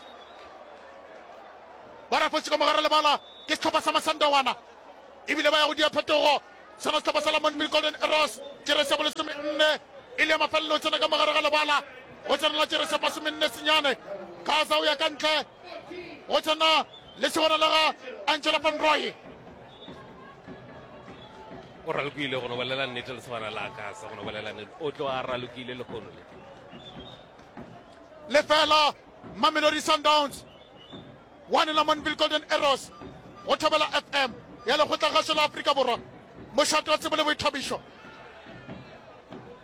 Ba refotše ka mogare lebala ke sehlopha sa Masandawana ebile ba ya go dia phetogo. Sona sehlopha sa Lamontville Golden Arrows jeresi ya bolesome nne e le ya mafelelo tsena ka mogare ga lebala go tsenela jeresi ya masomenne senyane. Kaza o ya ka ntle go tsena le segona la ga Angela Van Rooy. O ralokile go no bolela nnete le segona la Kaza go no bolela nnete o tlo a ralokile lehono le. Lefela Mamelodi Sundowns one Lamontville Golden Arrows go Thobela F M ya Lekgotlakgašo la Afrika Borwa. Mošate wa tsebo le boithabišo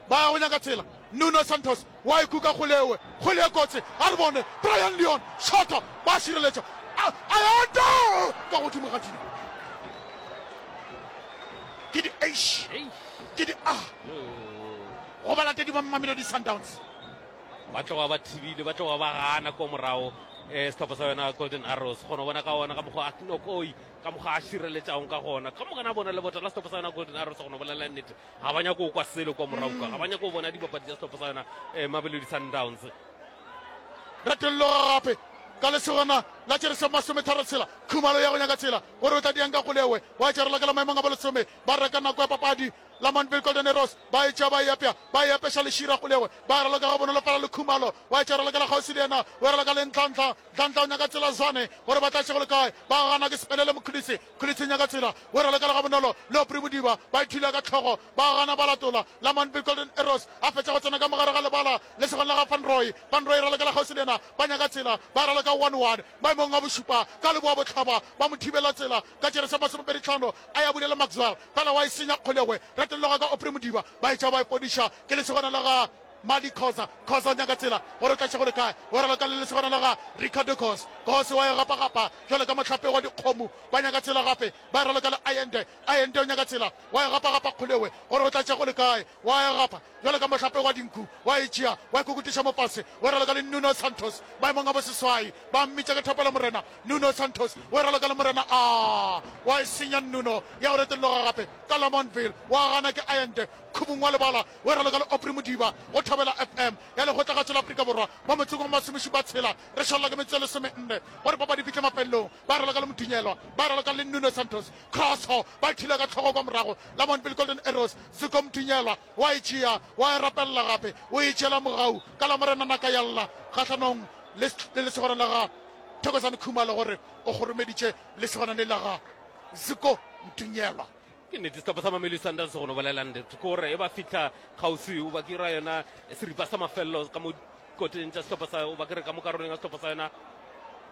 ba ya go nyaka tsela. Nuno Santos wa ikuka kgolewe kgwele e kotsi a re bone Brian Leon shota ba šireletša Ayanda ka godimo ga dino ke di H ke di A go balatedi ba Mamelodi Sundowns. Ba tloga ba thibile ba tloga ba gana ko morago eh sehlopha sa yona Golden Arrows kgona bona ka ona ka mokgwa a nokoi ka mokgwa a šireletšago ka gona ka mokana bona lebota la sehlopha sa yona Golden Arrows go no bolela nnete ga ba nyako kwa selo kwa morago ka ga ba nyako bona dibapadi tša sehlopha sa yona eh Mamelodi Sundowns. Retolloga gape ka lesogana la tšerese masometharo tshela Khumalo ya go nyaka tsela gore o tla diang ka kgolewe wa tšerela ka la maemong a bolesome ba reka nako ya papadi Lamontville Golden Arrows ba e tšea ba e apea ba e apeša lešira kgolewe ba raloka ga bonolo fela le Khumalo wa tšerela ka la kgauswi le yena o raloka le Ntlantla. Ntlantla o nyaka tsela Zwane gore ba tla tšego le kae ba gana ke Sepelele Mokhulisi. Khulisi nyaka tsela o raloka le ga bonolo le Opri Modiba ba ithula ka tlhogo ba gana ba latola. Lamontville Golden Arrows a fetša go tsena ka mogare ga lebala le segong la ga Van Rooy. Van Rooy raloka la kgauswi le yena ba nyaka tsela ba raloka one one maemong a bošupa ka leboa bohlaba ba mo thibela tsela ka tšerese masomepedi tlhano a ya bulela Maxwell fela wa e senya kgolegwe retolloga ka Opri Modiba ba e tša ba e podiša ke lesogana la ga Madi Khoza. Khoza o nyaka tsela gore o tla tšego le kae o raloka le lesogana la ga Ricardo Kos. Kos wa e gapagapa jwale ka mohlape wa dikgomo ba nyaka tsela gape ba raloka le Allende. Allende o nyaka tsela wa e gapagapa kgolewe gore o tla tšego le kae wa e gapa jwale ka mohlape wa dinku wa e tšea wa e kokutiša mo fase o raloka le Nuno Santos maemong a boseswai ba mmitša ke thapelo morena Nuno Santos o raloka le morena a wa e senya Nuno ya go retolloga gape ka Lamontville wa gana ke Allende. Khubung wa lebala o e raloka le Aubrey Modiba go Thobela F M ya Lekgotlagašo la Afrika Borwa mo motseng wa masomešupa tshela. Re šalela ke metsotso e lesomenne gore papadi e fihle mafelelong. Ba e raloka le Modunyelwa, ba e raloka le Nuno Santos. Crosso ba e thula ka hlogo kwa morago. Lamontville Golden Arrows, Zuko Modunyelwa wa e tšea, wa e rapelela gape, o e tšeela mogau ka Lamorena Nakayalla kgahlanong le le lesogana la ga Thokozani Khumalo gore o kgoromeditše lesogana le la ga Zuko Mdunyelwa. Ke nnete, sehlopha sa Mamelodi Sundowns go no bolela nnete ke gore e ba fihla kgauswi o ba ke ra yona seripa sa mafelelo ka mo koteng tša sehlopha sa o ba ke re ka mo karolong ya sehlopha sa yona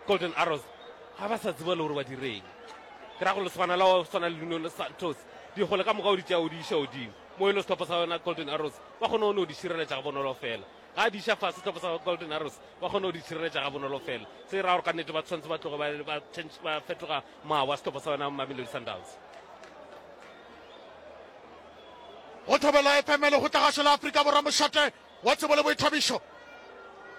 Golden Arrows, ga ba sa tseba le gore ba direng. Ke ra gore lesogana la go swana le Nuno Santos dikgole ka moka o di tšea o di iša godimo mo e le sehlopha sa yona Golden Arrows ba kgone go no di šireletša ga bonolo fela. Ga a di iša fase sehlopha sa Golden Arrows ba kgone go di šireletša ga bonolo fela. Se ra gore ka nnete ba tshwanetse ba tloge ba, ba, change, ba fetoga mawa sehlopha sa yona Mamelodi Sundowns. Go Thobela F M Lekgotlagašo la Afrika Borwa mošate wa tsebo le boithabišo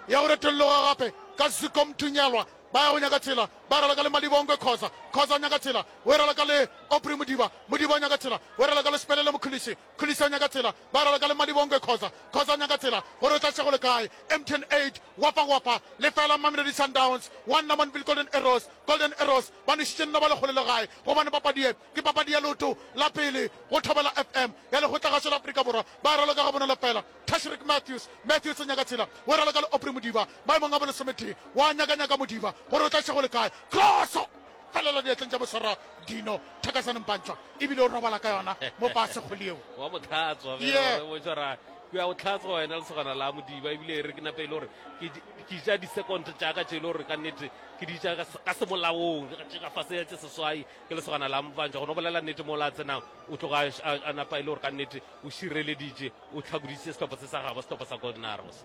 ya go retolloga gape ka Zuko Mthunyelwa ba ya go nyaka tsela ba raloka le Malibongwe Khoza Khoza o nyaka tsela o e raloka le Aubrey Modiba Modiba o nyaka tsela o e raloka le Spelele Mkhulisi Khulisi o nyaka tsela ba raloka le Malibongwe Khoza Khoza o nyaka tsela gore o tla tšego le kae M T N eight Wafa Wafa lefela Mamelodi Sundowns one Lamontville Golden Arrows Golden Arrows ba nwešitše nno ba lekgole le gae gobane papadi ye ke papadi ya leoto la pele go Thobela F M ya Lekgotlagašo la Afrika Borwa. Ba raloka ga bonolo fela. Tashreeq Matthews Matthews o nyaka tsela o raloka le Aubrey Modiba maemong a bolesometee wa nyakanyaka Modiba gore o tla tšego le kae. Crosso felela diatleng tša boswara Dino Thakazane Mpantšwa ebile o robala ka yona mo fase kgwele yeo. Wa mo tlhatswa Yeah. o tshwara ke ya o tlhatswa wena lesogana la Modiba ebile e re ke nape e le gore ke ke ja di-second tša ka tše e le gore ka nnete ke di ja ka se- ka semolaong ke ga fase ya tše seswai ke lesogana la Mpantšwa. Go no bolela nnete mo la tsenang o tloga a, a, a napa e le gore ka nnete o šireleditše o hlakoditše sehlopha se sa gabo sehlopha sa Golden Arrows.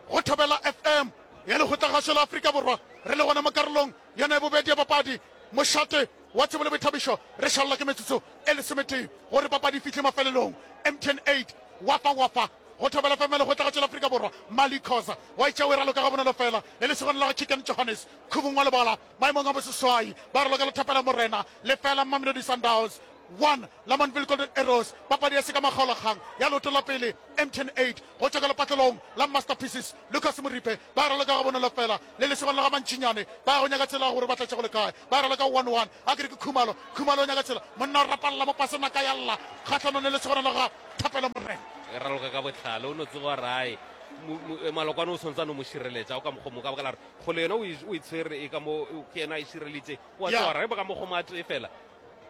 Go Thobela F M ya Lekgotlagašo la Afrika Borwa re le gona mo karolong yona ya bobedi ya papadi mošate wa tsebo le boithabišo. Re šalela ke metsotso e lesometee gore papadi e fihle mafelelong. M T N eight Wafa Wafa go Thobela F M ya Lekgotlagašo la Afrika Borwa. Mali Khoza wa itša o e raloka ga bonolo fela le lesogana la ga Chicken Johannes Khubung wa lebala maemong a boseswai ba raloka le Thapela Morena lefela Mamelodi Sundowns one Lamontville Golden Arrows. Papadi ya seka makgaolakgang ya leoto la pele M T N eight go tšwa ka lepatlelong la Masterpieces Lucas Moripe ba raloka ga bonolo fela le lesogana la ga Mantšinyane ba ya go nyaka tsela gore ba tlatše go le kae. Ba raloka one one a kere ke Khumalo Khumalo o nyaka tsela monna o rapalla mo pasena ka yalla kgahlanong le lesogana la ga Thapelo Morena. E raloka ka botlhale o no tseba rae malokwane o tshwanetse a no mo šireletša o ka mokgomo ka baka la gore kgole yena o e o e tshwere e ka mo ke yena a e šireleditše wa Yeah. tseba gore ge ba ka mokgomo a tee fela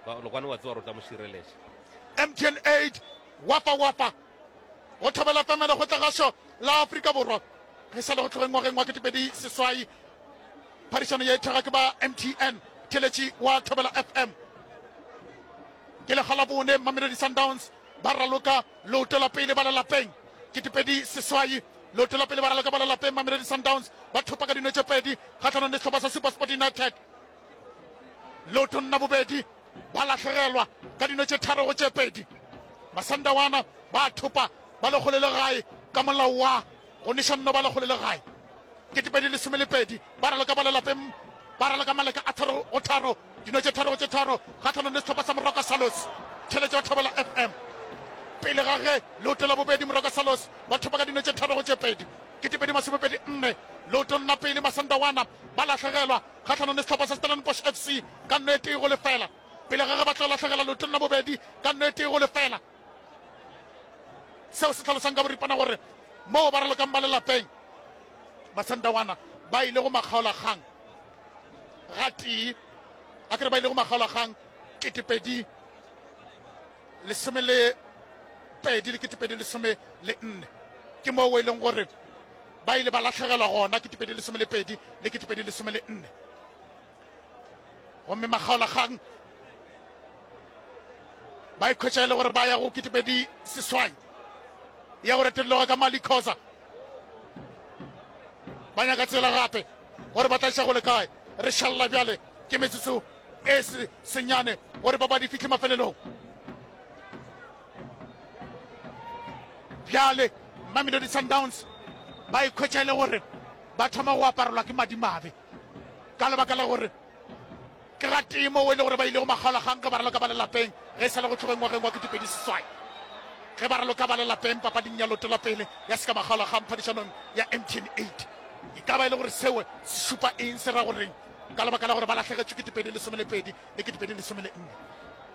malokwane wa tseba gore o tla mo šireletša. M T N eight Wafa Wafa go Thobela F M Lekgotlagašo la Afrika Borwa ge sa le go tlogeng ngwageng wa ketepedi seswai. Phadišano ye e thega ke ba M T N theletši wa Thobela F M. Ke lekga la bone Mamelodi Sundowns ba raloka leoto la pele ba le lapeng ketepedi seswai. Leoto la pele ba raloka ba le lapeng Mamelodi Sundowns ba thopa ka dino tše pedi kgahlanong le sehlopha sa SuperSport United. Leotong la bobedi ba lahlegelwa ka dino tše tharo go tše pedi. Masandawana ba thopa ba lekgole le gae ka molao wa go neša nno ba lekgole le gae ketepedi lesome le pedi ba raloka ba le lapeng ba raloka maleka a tharo go tharo dino tše tharo go tše tharo kgahlanong le sehlopha sa Moroka Salos. Tšhelete wa Thobela F M pele ga ge leoto la bobedi Moroka Salos ba thopa ka dino tše tharo go tše pedi ketepedi masomepedi nne. Leotong la pele Masandawana ba lahlegelwa kgahlanong le sehlopha sa Stellenbosch F C ka nno e tee go lefela pele ga ge ba tlo lahlegela leotong la bobedi ka nno e tee go lefela. Seo se hlalosang ka boripana gore moo ba ralokang ba le lapeng Masandawana ba ile go makgaolakgang ga tee a kere ba ile go makgaolakgang ketepedi lesome le pedi le ketepedi lesome le nne ke moo e leng gore ba ile ba lahlegelwa gona ketepedi lesome le pedi le ketepedi lesome le nne. Gomme makgaolakgang ba ikhwetša e le gore ba ya go ketepedi seswai ya go retelloga ka Mali Khoza. Ba nyaka tsela gape gore ba tla iša go le kae. Re šalela bjale ke metsotso e se senyane gore papadi e fihle mafelelong. Bjale Mamelodi Sundowns ba ikhwetša e le gore ba thoma go aparelwa ke madimabe ka lebaka la gore ke ga tee moo e le gore ba ile go makgaolakgang ge ba raloka ba le lapeng ge e sa le go tlogeng ngwageng wa ketepedi seswai. Ge ba raloka ba le lapeng papading ya loto la pele ya sekamakgaolakgang phadišanong ya M T N eight. E ka ba e le gore seo se šupa eng, se ra goreng ka lebaka la gore ba lahlegetšwe ketepedi lesome le pedi le ketepedi lesome le nne.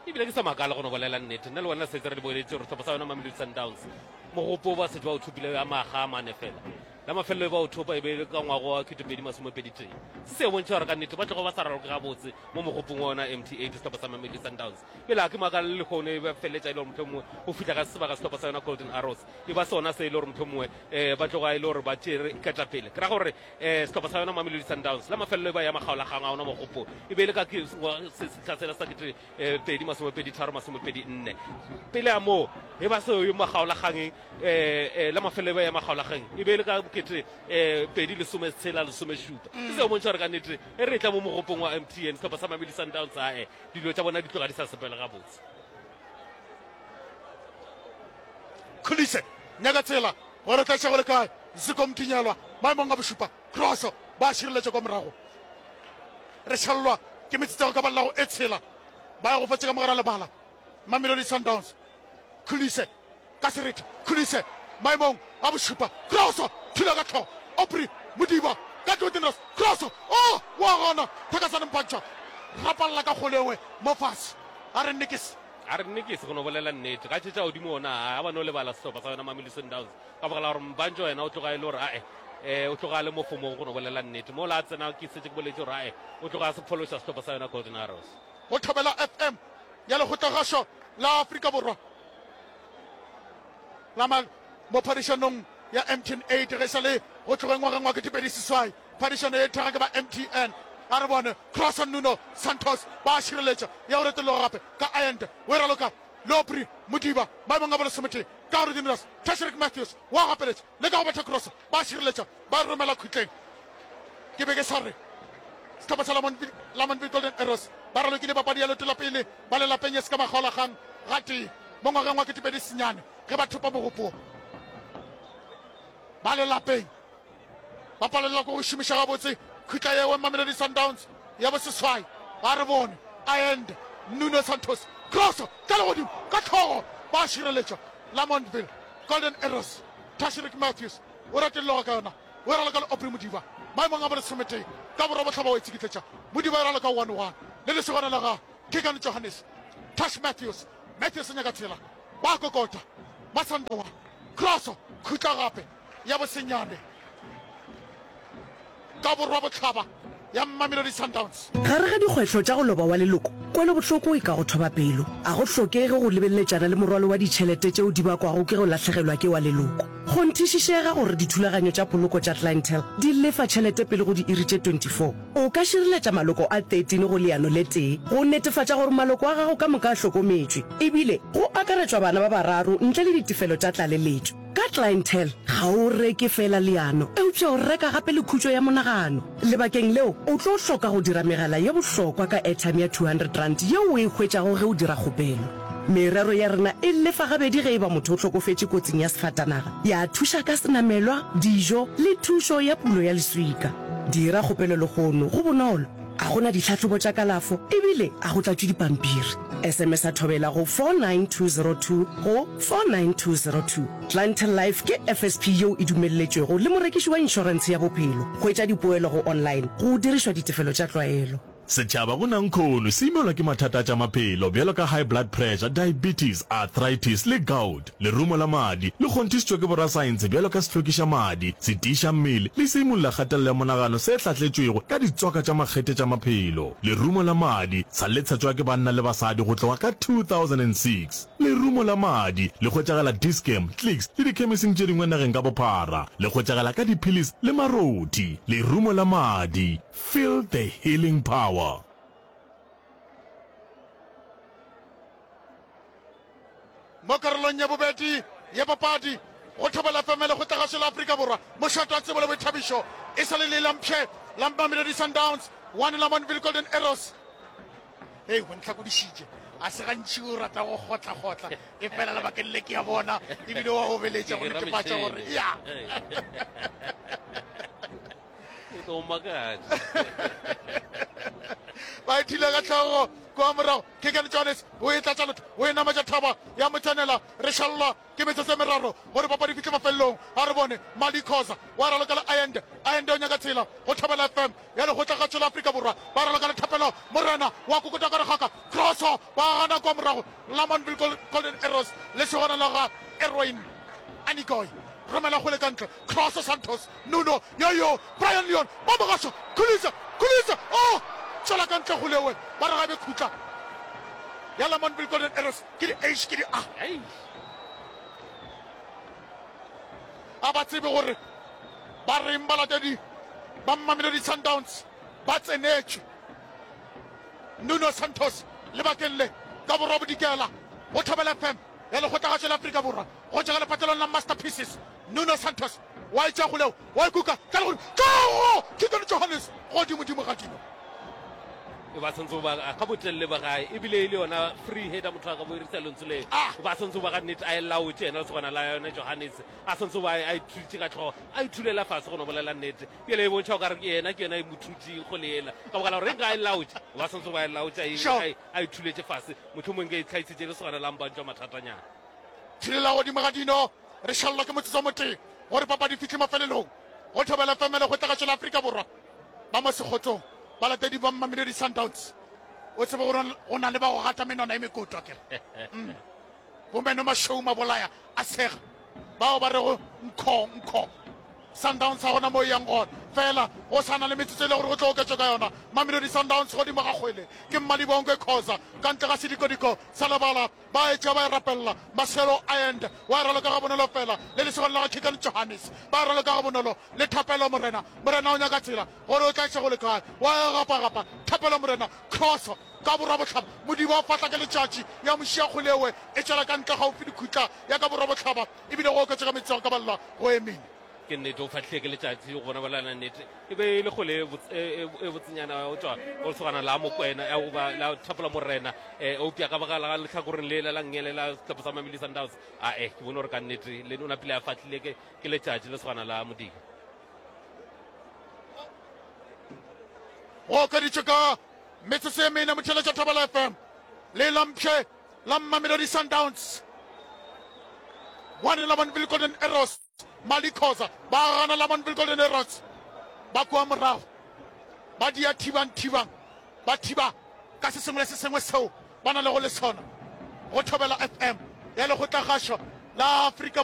Ebile ke sa makala go no bolela nnete, nna le wena setse re di boeletše gore sehlopha sa yona Mamelodi Sundowns mogopo ba setse ba o thopile ya maga a mane fela. La mafelelo e ba o thopa e be e le ka ngwaga wa ketepedi masomepedi tee. Se se bontšha gore ka nnete ba tlogo ba sa raloke gabotse mo mogopong wa ona M T eight sehlopha sa Mamelodi Sundowns. Pele ga ke makala le lehono e ba feleletša e le gore mohlomongwe go fihla ga sebaka sehlopha sa yona Golden Arrows e ba sona se e le gore mohlomongwe um ba tloga e le gore ba tšere ketapele. Ke ra gore um sehlopha sa yona Mamelodi Sundowns la mafelelo e ba ya makgaolakgang a ona mogopo e be e le ka sehla sela sa kete pedi masomepedi tharo masomepedi nne. Pele a moo e ba seo makgaolakgangeng um la mafelelo e ba ya makgaolakgang e be e le ka kete um pedi lesome tshela lesome šupa. Se seo bontšha gore ka nnete e re tla mo mogopong wa M T N sehlopha sa Mamelodi Sundowns ae dilo tša bona di tloga di sa sepele gabotse. Khulise nyaka tsela gore tla tšego le kae Ziko Mtinyelwa maemong a bošupa crosso ba šireletša kwa morago. Re šallwa ke metsotso ya go ka ballago e tshela ba ya go fetša ka mogara lebala Mamelodi Sundowns. Khulise ka serete, Khulise maemong a bošupa crosso thula ka tlhogo Aubrey Modiba ka Jordan crosso oh wa gona Thakasane Mpantšha rapalla ka kgolewe mo fase a re nnekese a re nnekese go no bolela nnete ga tšetša godimo ona a ba no lebala sehlopha sa yona Mamelodi Sundowns ka baka la gore Mpantšha yena o tloga e le gore ae um o tloga a le mo fomong go no bolela nnete mo la tsena ke setse ke boletse gore ae o tloga a se phološa sehlopha sa yona Golden Arrows. Go Thobela F M ya Lekgotlagašo la Afrika Borwa la mo phadišanong ya M T N eight ge sa le go tlogeng ngwageng wa ketepedi seswai. Phadišano e thega ke ba M T N. A re bone Cross Nuno Santos ba šireletša ya go retologa gape ka Ayende o e raloka Lopri Modiba maemong a bolesometee ka gore Diniras Tashrik Matthews wa gapeletša le ka go betha cross ba šireletša ba romela khutleng. Ke be ke sa re sehlopha sa Lamontville Golden Arrows ba ralokile papadi ya leoto la pele ba le lapeng ya se ka makgaolakgang gatee mo ngwageng wa ketepedi senyane ge ba thopa mogopo ba le lapeng ba palelwa ke go šomiša gabotse khutla yewe Mamelodi Sundowns ya boseswai. Ba re bone Ayende Nuno Santos crosso tla le godimo ka tlhogo ba šireletša Lamontville Golden Arrows. Tashrik Matthews o ratelloga ka yona o e raloka le Aubrey Modiba maemong a bolesometee ka borwa bohlaba o e tsikitletša Modiba e raloka one one le lesogana la ga Keegan Johannes. Tash Matthews Matthews o nyaka tsela ba kokota Masandawa crosso khutla gape ya bosenyane ka borwa bohlaba ya Mamelodi Sundowns. Gare ga dikgwehlo tša go loba wa leloko, kwelobohloko e ka go thoba pelo. A go hlokege go lebeletšana le morwalo wa ditšhelete tšeo di bakwago ke go lahlegelwa ke wa leloko. Kgonthišišega gore dithulaganyo tša poloko tša Clientele di lefa tšhelete pele go diiri tše twenty-four. O ka šireletša maloko a thirteen go leano le tee go netefatša gore maloko a gago ka moka a hlokometšwe, ebile go akaretšwa bana ba bararo ntle le ditefelo tša tlaleletšo. Ka Clientele, ga o reke fela leano, eupša o reka gape le khutšo ya monagano. Lebakeng leo, o tlo hloka go dira megala ye bohlokwa ka airtime ya two hundred rand yeo o e hwetšago ge o dira kgopelo. Merero ya rena e lefa gabedi ge e ba motho o hlokofetše kotsing ya sefatanaga, ya thuša ka senamelwa, dijo le thušo ya pulo ya leswika. Dira kgopelo lehono, go bonolo, a go na ditlhahlobo tša kalafo ebile a go tlatšwe dipampiri. S M S a Thobela go four nine two zero two go four nine two zero two. Clientele Life ke F S P yeo e dumelletšwego le morekiši wa inšorentshe ya bophelo. Hwetša dipoelo go online go dirišwa ditefelo tša tlwaelo. Setšhaba go nankhono se imelwa ke mathata a tša maphelo bjalo ka high blood pressure, diabetes, arthritis le gout. Lerumo la madi le kgonthišitšwe ke borasaense bjalo ka sehlwekiša madi, se tiiša mmele le se imolla kgatelelo ya monagano se hlahletšwego ka ditswaka tša makgethe tša maphelo. Lerumo la madi sa le tshetšwa ke banna le basadi go tloga ka two thousand and six. Lerumo la madi le hwetšagala Dis-Chem, Clicks le dikhemising tše dingwe nageng ka bophara. Le hwetšagala ka diphilisi le marothi. Lerumo la madi. Feel the healing power. Mo karolong ya bobedi ya papadi go Thobela F M le Lekgotlagašo la Afrika Borwa, mošate wa tsebo le boithabišo e sa le le lampšhe la Mamelodi Sundowns one Lamontville Golden Arrows. Hei, go ntlhakodišitše, a se gantši o rata go kgotla-kgotla, e fela lebakeng le ke ya bona ebile wa obeletša go netefatša gore ya o tlo makatša. Ba ithile ka tlhogo Kua morago, Keagan Johannes o e tlatša lotho, o e nametša thaba ya mo tsenela. Re šalelwa ke metsotso e meraro gore papadi e fihle mafelelong. A re bone, Mali Khoza wa raloka le Allende. Allende o nyaka tsela go Thobela F M ya Lekgotlakgašo la Afrika Borwa. Ba raloka le Thapelo Morena wa kokota ka regaka. Crosso ba gana kua morago. Lamontville Golden Arrows lesogana la ga Erwin Anigoy romela kgwele ka ntle. Crosso Santos Nuno yoyo Brian Leon ba mo gaša. Khulisa Khulisa oh! Tšwela ka ntle kgolewe ba re ga be khutla ya Lamontville Golden Arrows ke di H ke di A. A ba tsebe gore ba reng balatedi ba Mamelodi Sundowns ba tsenetšwe. Nuno Santos lebakeng le ka borwa bodikela go Thobela F M ya Lekgotlagašo la Afrika Borwa go tšwa ka lepatlelong la Masterpieces. Nuno Santos wa e tšea kgoleo wa e kuka tla le godimo tlogo Keaton Johannes godimodimo ga dino. E ba santse ba ka botelele ba gae ebile e le yona free header motho a ka boirisa lentswe le Ah. ba santse ba ga nnete a e laotše yena lesogana la yone Johannes a santse ba a ithutše ka tlhogo a ithulela fase go no bolela nnete bjale e bontšha o ka re ke yena ke yona e mo thutšeng kgole yela ka baka la gore nka e laotše ba santse ba e laotše a e- Sure. a e- a ithuletše fase mohlomong nka e tlhaisitše lesogana la mpantšwa mathatanyana. Thulela godimo ga dino re šalelwa ke motsotso motee gore papadi e fihle mafelelong. Go Thobela F M Lekgotlagašo la Afrika Borwa ba mo sekgotsong balatedi ba Mamelodi Sundowns. O tsebe gore go na le ba go gata menwana e mekoto akere. Mm. Bomeno mašweu mabolaya a sega bao ba rego nkho nkho. Sundowns ga gona mo e yang gona fela go sa na le metsotso e le gore go tlo oketšwa ka yona. Mamelodi Sundowns godimo ga kgwele ke Mmalibongwe Khoza ka ntle ga sedikodiko sa lebala ba etša ba e rapella. Marcelo Allende wa e raloka ga bonolo fela le lesogana la ga Keagan Johannes ba e raloka ga bonolo le Thapelo Morena. Morena o nyaka tsela gore o tla iša go le kae wa e gapagapa. Thapelo Morena cross ka borwa bohlaba Modiba o fatla ke letšatši ya mošia kgolewe e tšwela ka ntle gaufi le khutla ya ka borwa bohlaba ebile go oketša ka metsotso ya go ka balelwa go emene. Ke nnete o fahlile ke letšatši go bona bolana nnete e be e le kgole e botse, e, e, e botsenyana go tšwa go lesogana la Mokwena, ya go ba la Thapelo Morena, eh, eupša ka baka la lehlakoreng le la la nngele la sehlopha sa Mamelodi Sundowns, a eh, ke bone gore ka nnete le o napile a fahlile ke, ke letšatši lesogana la Modiba. Go okeditšwe ka metsotso e mene motheeletša Thobela F M le lampše la Mamelodi Sundowns one Lamontville Golden Arrows. Mali Khoza ba gana Lamontville Golden Arrows ba kua morago ba dia thibang thibang ba thiba ka se sengwe le se sengwe seo ba na lego le sona go Thobela F M ya Lekgotlagašo la Afrika